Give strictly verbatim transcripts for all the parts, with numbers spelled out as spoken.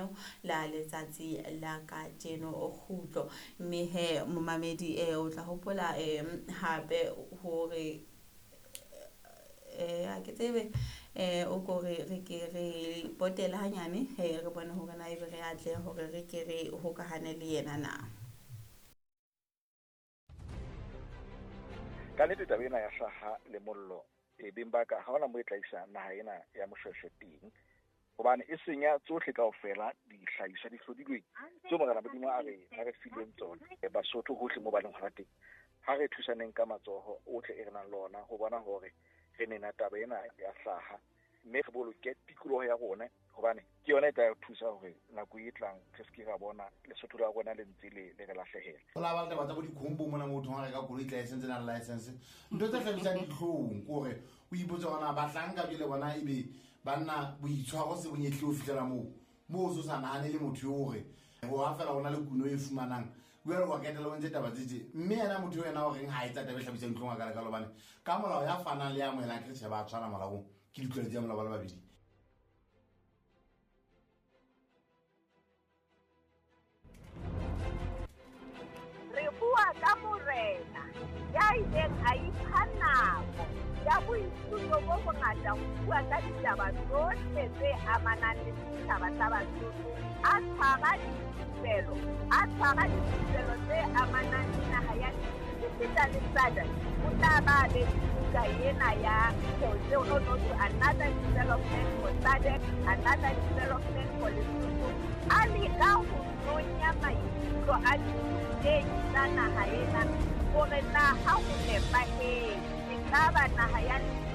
lenaneo la letsatsi la kajeno kgutlo. Mme he momamedi eh o tla hopola eh hape hore eh a ke tsebe eh o kore re ke re potela hanyane he re bone hore na ebe re atle hore re ke re hokahane le yena na. Ka nnete taba ena ya hlaha le mollo e beng ba ka ha hona mo e tla isa naha ena ya Moshweshwe teng, hobane e senya tsohle kaofela dihlahiswa di hlodilweng tseo Morena Modimo a re a re fileng tsona. Basotho hohle mo ba leng hona teng, ha re thusaneng ka matsoho ohle e re nang le ona ho bona hore re nena taba ena ya hlaha, mme re boloke tikoloho ya rona, hobane ke yona e tla re thusa hore nako e tlang re se ke ra bona Lesotho la rona le ntse le le re lahlehela. Ho la ba le taba tsa bo dikhombo mona motho ha reka koloi tla e sentse nang license. Ntho tse hlabisang dihlong ke hore o ipotse hore na bahlanka jwale bona ebe banna boitshwaro se bonyehle ho fihlela moo moo o so sa nahane le motho eo hore ho ha fela hona le kuno e fumanang jwale wa ketela o ntse taba tse tje. Mme yena motho eo yena o reng ha etsa taba e hlabisang dihlong a ka lekalo, hobane ka molao ya fanang le ya amohelang ke tjhe ba tshwana molaong, ke ditlwaelo tsa molao ba le babedi. Re bua ka morena ya ileng a ipha nako ya boithuto bo bongata ho bua ka ditaba tsohle tse amanang le setjhaba sa Basotho, a tshwara dithupelo, a tshwara dithupelo tse amanang le naha ya Lesotho le S A D C. O tla ba be le buka ena ya no no to another development for S A D C, another development for Lesotho. A leka ho nonya maikutlo a dithutehi tsa naha ena hore na ha ho nepahetse ekaba naha ya Lesotho.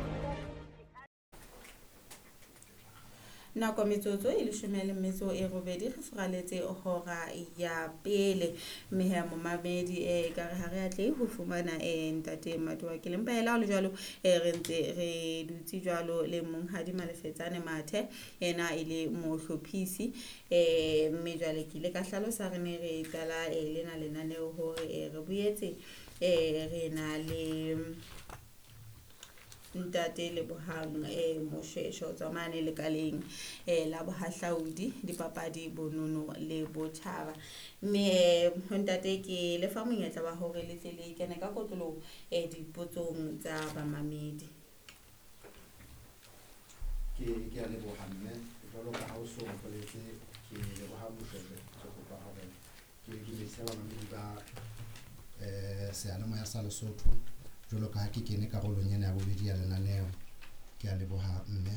Nako metsotso e leshome le metso e robedi re furaletse hora ya pele. Mme he momamedi eh ka re ha re atle ho fumana eh ntate Matoa ke lempa hela le jwalo eh re ntse re dutse jwalo le monghadi Malefetsane Mathe yena e le mohlophisi eh mme jwale ke ile ka hlalosa re ne re qala eh lena lenaneo hore eh re boetse eh re na le ntate Lebohang eh Moshweshwe o tswa mane lekaleng eh la bohahlaudi dipapadi bonono le botjhaba. Mme ntate ke le fa monyetla wa hore le tle le kene ka kotloloho eh dipotsong tsa bamamedi. Ke ke a leboha mme jwalo ka ha o so mpoletse ke Lebohang Moshweshwe, ke kopa hore ke dumedise bamamedi ba eh seyalemoya sa Lesotho jwalo ka ha ke kene karolong ena ya bobedi ya lenaneo. Ke a leboha mme.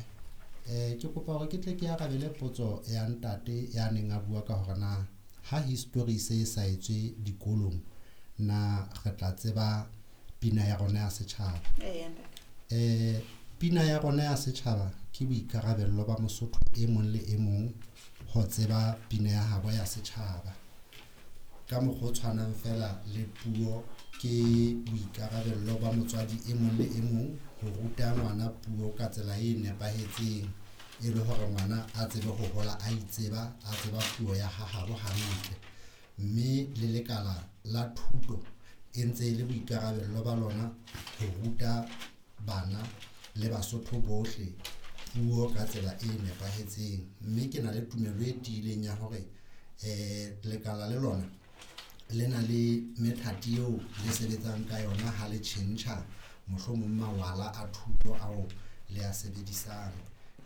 Eh ke kopa hore ke tle ke arabele potso ya ntate ya neng a bua ka hore na ha history se sa etswe dikolong na re tla tseba pina ya rona ya setjhaba. Eh ntate. Eh pina ya rona ya setjhaba ke boikarabello ba Mosotho e mong le e mong ho tseba pina ya habo ya setjhaba. Ka mokgwa o tshwanang fela le puo ke boikarabello ba motswadi e mong le e mong ho ruta ngwana puo ka tsela e nepahetseng e le hore ngwana a tsebe ho hola a itseba, a tseba puo ya hahabo hantle. Mme le lekala la thuto e ntse e le boikarabello ba lona ho ruta bana le Basotho bohle puo ka tsela e nepahetseng. Mme ke na le tumelo e tiileng ya hore eh lekala le lona le na le methati eo le sebetsang ka yona ha le tjhentjha mohlomong mawala a thuto ao le a sebedisang.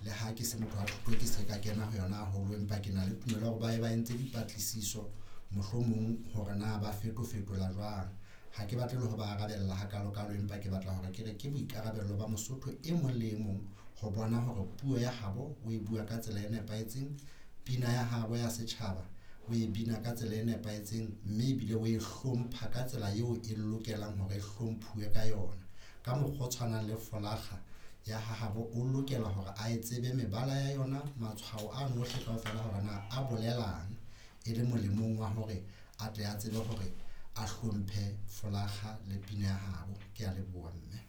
Le ha ke se motho wa thuto ke se ka kena ho yona haholo, empa ke na le tumelo hore ba e ba entse dipatlisiso mohlomong hore na ba fetofetola jwang. Ha ke batle le ho ba arabella hakalokalo, empa ke batla hore ke re ke boikarabello ba Mosotho e mong le e mong ho bona hore puo ya habo o e bua ka tsela e nepahetseng, pina ya habo ya setjhaba o e bina ka tsela e nepahetseng, mme ebile o e hlompha ka tsela eo e lokelang hore e hlomphuwe ka yona. Ka mokgwa o tshwanang le folakga ya hahabo o lokela hore a e tsebe mebala ya yona, matshwao a ohle kaofela hore na a bolelang, e le molemong wa hore a tle a tsebe hore a hlomphe folakga le pina ya habo. Ke a leboha mme.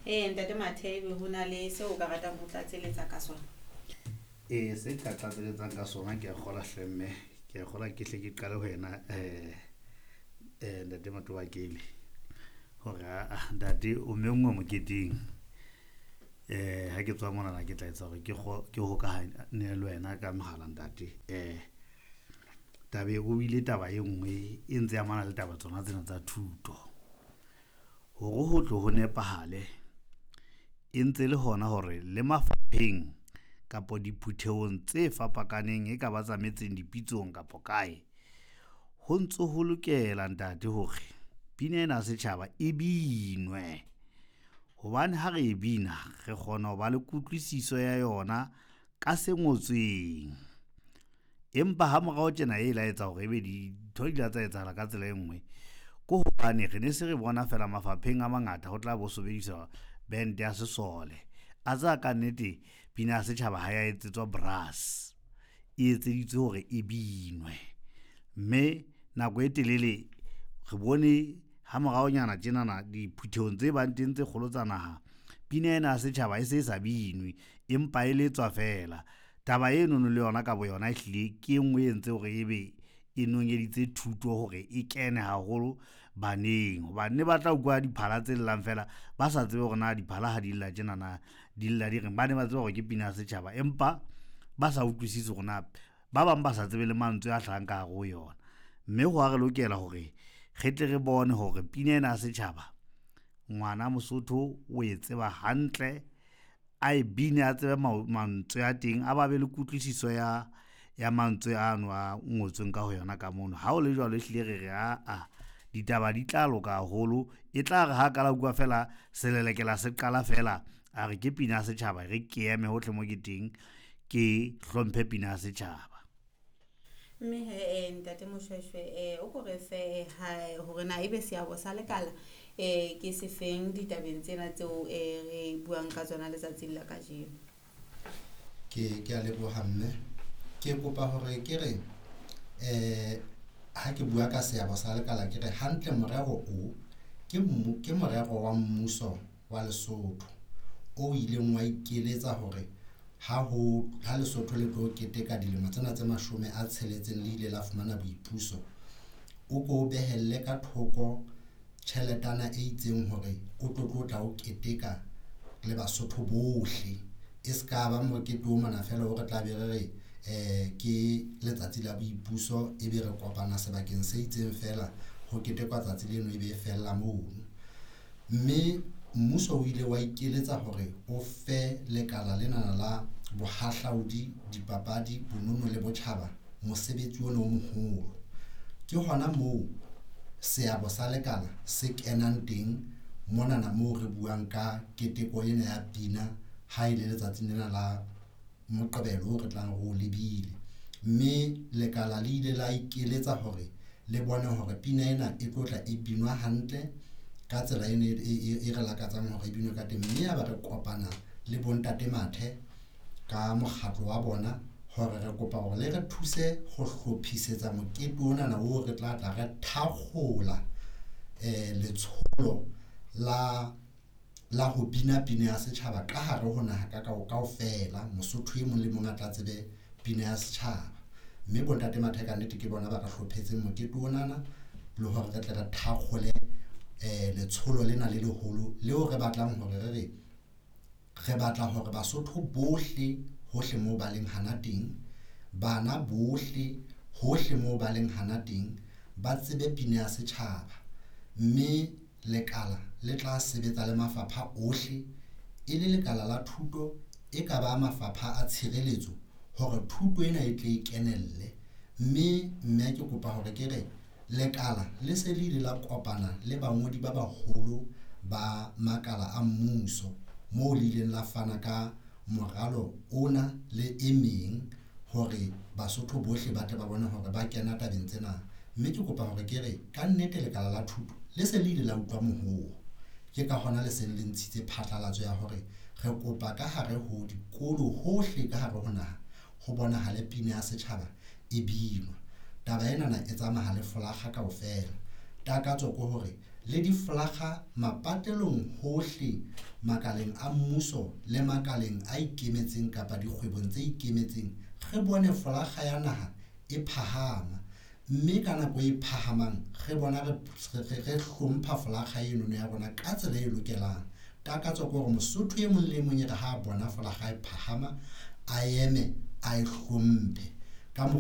Eh ntate Mathe, ebe ho na le seo o ka ratang ho tlatseletsa ka sona? Eh se ka tlatseletsang ka sona ke a kgola hle mme, ke a kgola ke hle ke qale ho yena eh eh ntate Matobakele hore a ntate o menngwe moketeng. Eh ha ke tswa mona ke tla etsa hore ke ke hokahane le wena ka mohala ntate. Eh tabe o ile taba e nngwe e ntse amana le taba tsona tsena tsa thuto. Hore ho tlo ho nepahale e ntse le hona hore le mafapheng kapa diphuthehong tse fapakaneng e ka ba tsa metseng dipitsong kapa kae, ho ntso ho lokela ntate hore pina ena ya setjhaba e binwe. Hobane ha re e bina re kgona ho ba le kutlwisiso ya yona ka se ngotsweng. Empa ha morao tjena e la etsa hore ebe dintho di la tsa etsahala ka tsela e nngwe, ke hobane re ne se re bona fela mafapheng a mangata ho tla bo sebediswa band ya sesole. A tseba ka nnete pina ya setjhaba ha ya etsetswa brass, e etseditswe hore e binwe. Mme nako e telele re bone ha moraonyana tjenana diphuthehong tse bang teng tse kgolo tsa naha, pina ena ya setjhaba e se e sa binwe empa e letswa fela. Taba enono le yona ka boyona ehlile ke e nngwe e entse hore ebe e nonyeditse thuto hore e kene haholo baneng. Hobane ne ba tla utlwa diphala tse llang fela ba sa tsebe hore na diphala ha di lla tjenana di lla di reng. Ba ne ba tseba hore ke pina ya setjhaba empa ba sa utlwisise hore na ba bang ba sa tsebe le mantswe a hlahang ka hare ho yona. Mme ho a re lokela hore re tle re bone hore pina ena ya setjhaba ngwana Mosotho o e tseba hantle, a e bine, a tsebe mantswe a teng, a ba be le kutlwisiso ya ya mantswe ano a ngotsweng ka ho yona ka mono. Ha o le jwalo ehlile re re aa ditaba di tla loka haholo. E tla re ha kala utlwa fela selelekela se qala fela a re ke pina ya setjhaba, re ke eme hohle mo ke teng ke hlomphe pina ya setjhaba. Mme he ntate Moshweshwe eh o ko re fe ha hore na ebe seabo sa lekala eh ke sefeng ditabeng tsena tseo eh re buang ka tsona letsatsing la kajeno. Ke ke a leboha mme. Ke kopa hore ke re eh ha ke bua ka seabo sa lekala ke re hantle morero o ke ke morero wa mmuso wa Lesotho o ileng wa ikeletsa hore ha ho ha Lesotho le tlo keteka dilemo tsena tse mashome a tsheletseng le ile la fumana boipuso, o ko behelle ka thoko tjheletana e itseng hore o tlo tlo tla o keteka le Basotho bohle. E ska ba mokete o mona fela hore tla be re re eh ke letsatsi la boipuso e be re kopana sebakeng se itseng fela ho ketekwa tsatsi leno e be fella mono. Mme mmuso o ile wa ikeletsa hore o fe lekala lena la bohahlaudi, dipapadi, bonono le botjhaba mosebetsi ona o moholo. Ke hona moo seabo sa lekala se kenang teng monana moo re buang ka keteko ena ya pina ha e le letsatsing lena la Moqebelo o re tlang re o lebile. Mme lekala le ile la ikeletsa hore le bone hore pina ena e tlo tla e binwa hantle ka tsela ene e re lakatsang hore e binwe ka teng. Mme ya ba re kopana le bontate Mathe ka mokgatlo wa bona hore re kopa hore le re thuse ho hlophisetsa mokete onana oo re tla tla re thakgola eh letsholo la la ho bina pina ya setjhaba ka hare ho naha ka kaofela. Mosotho e mong le mong a tla tsebe pina ya setjhaba. Mme bontate Mathe ka nnete ke bona ba re hlophetseng mokete onana le hore re tle re thakgole eh letsholo lena le leholo leo re batlang hore re re re batla hore Basotho bohle hohle moo ba leng hana teng, bana bohle hohle moo ba leng hana teng ba tsebe pina ya setjhaba. Mme lekala le tla sebetsa le mafapha ohle, e le lekala la thuto e ka ba mafapha a tshireletso hore thuto ena e tle e kenelle. Mme mme ke kopa hore ke re lekala le se le ile la kopana le bangodi ba baholo ba makala a mmuso moo le ileng la fana ka moralo ona le e meng hore Basotho bohle ba tle ba bone hore ba kena tabeng tsena. Mme ke kopa hore ke re ka nnete lekala la thuto le se le ile la utlwa mohoo. Ke ka hona le seng le ntshitse phatlalatso ya hore re kopa ka hare ho dikolo hohle ka hare ho naha ho bonahale pina ya setjhaba e binwa. Taba enana e tsamaya le folakga kaofela. Takatso ke hore le difolakga mapatelong hohle makaleng a mmuso le makaleng a ikemetseng kapa dikgwebong tse ikemetseng, re bone folakga ya naha e phahama. Mme ka nako e phahamang re bona re re hlompha folakga eno ya rona ka tsela e lokelang. Takatso ke hore Mosotho e mong le e mong e re ha a bona folakga e phahama, a eme a e hlomphe ka mokgwa.